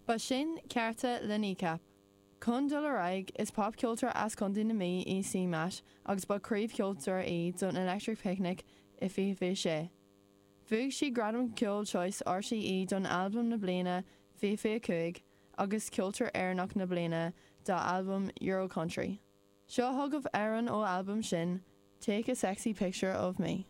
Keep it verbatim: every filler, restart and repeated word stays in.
Ba sin cearta le Kneecap. Chun dul ar aghaidh is popcheoltóir as Contae na Mí í CMAT agus ba príomhcheoltóir í don Electric Picnic i fiche fiche sé. Bhuaigh sí Gradam Ceoil Choice RTÉ don albam na bliana fiche fiche cúig agus Ceoltóir Éireannach na bliana dá albam Euro Country. Seo chugaibh amhrán ón albam sin, Take a Sexy Picture of Me.